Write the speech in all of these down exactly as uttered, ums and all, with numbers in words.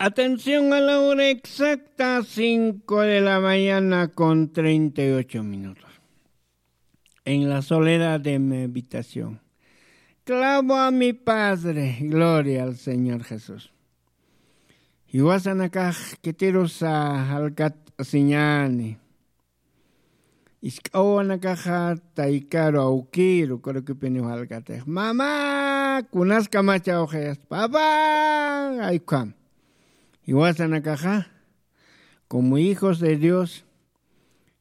Atención a la hora exacta, cinco de la mañana con treinta y ocho minutos. En la soledad de mi habitación, clamo a mi Padre. Gloria al Señor Jesús. Jiwasanakax kitirusa jalkat'asiñäni. Isk'awanakaxa taykaru awkiru, kurukipiniw jalkatix: "Mamá, kunas kamacha awxayas, papá", ay ukham. Jiwasanakaxa, como hijos de Dios,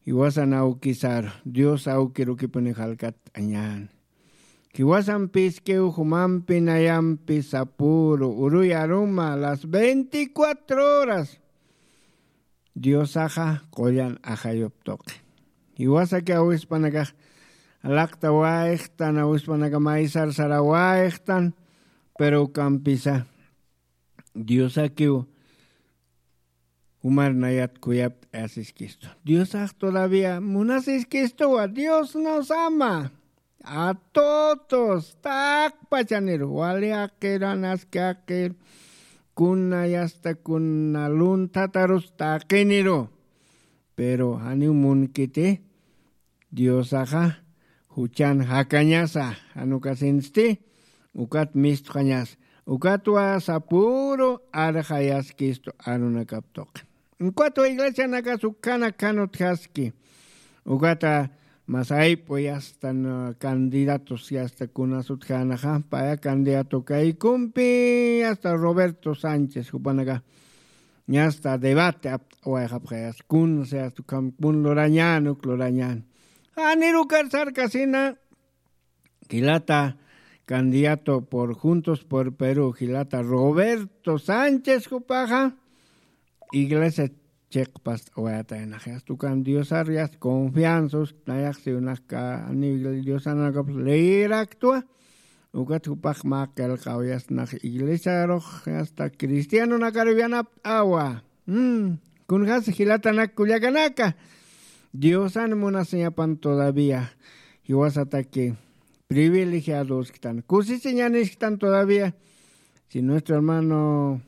jiwasan awkisaru, Dios awkirukipiniw jalkat'añäni. Jiwasan pïskiw jumampi, nayampi, sapüru, uruy aruma, las veinticuatro horas Diosaxa qullan ajayup tuqi. Jiwasaki awispanakax laqtawayxtan, awispanaka maysar sarawayxtan, pero ukampisa Diosakiw jumar nayat khuyapt'ayasiskistu. Diosax todavía munasiskistuwa, Dios nos ama. A todos, taqpachaniru, wali jaqir, anaski jaqir, kuna yasta kuna lunthatarus taqiniru. Pero janiw munkiti, Diosaxa juchan jakañasa, jan ukasinsti, ukat mistxañasa, ukatwa sapüru arxayaskistu arunakap tuqi. Ukatwa iglesianakas ukkhanak jan utjaski. Ukata masayp'u yasta, no, candidatos yasta kunas utjänaxa, paya candidato kaykumpi yasta Roberto Sánchez jupanaka. Yasta debate apt'awayxapxayas, kunsa yasta ukham kun lurañän, uk lurañän. Janirukar sarkasina, jilata candidato por Juntos por Perú, jilata Roberto Sánchez jupaxa, iglesia chiqpast'awayataynax, yasta ukan Diosar yasta confianza, nayax siwnax ka, ani Diosanakapas leyir actúa, ukat jupax mä qillqaw yasta nax iglesiarux, yasta cristianonakaru yanapt'awa. Mm, kunjasa jilatanak kullakanaka, Diosan munasiñapan todavía, jiwasataki privilegiadosktan, kusisiñanisktan todavía. Si nuestro hermano,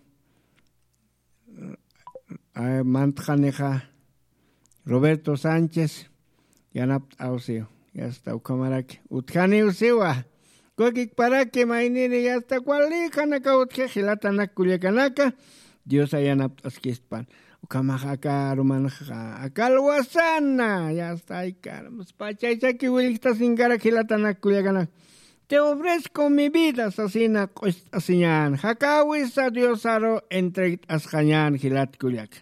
eh, mantxanixa Roberto Sánchez yanapt'awsiw, yasta ukhamaraki utjaniw siwa. Kukikparaki mayniri yasta wali janaka utji jilatanak kullakanaka, Diosa yanapt'askispan. Ukhamax aka arumanxa, aka alwasana, yasta aykarmas pachaychaki willjt'asinkarak jilatanak kullakanaka. Te ofrezco mi vida sasina q'ust'asiñän, jakawisa Diosaru entregt'asxañän jilat kullaka.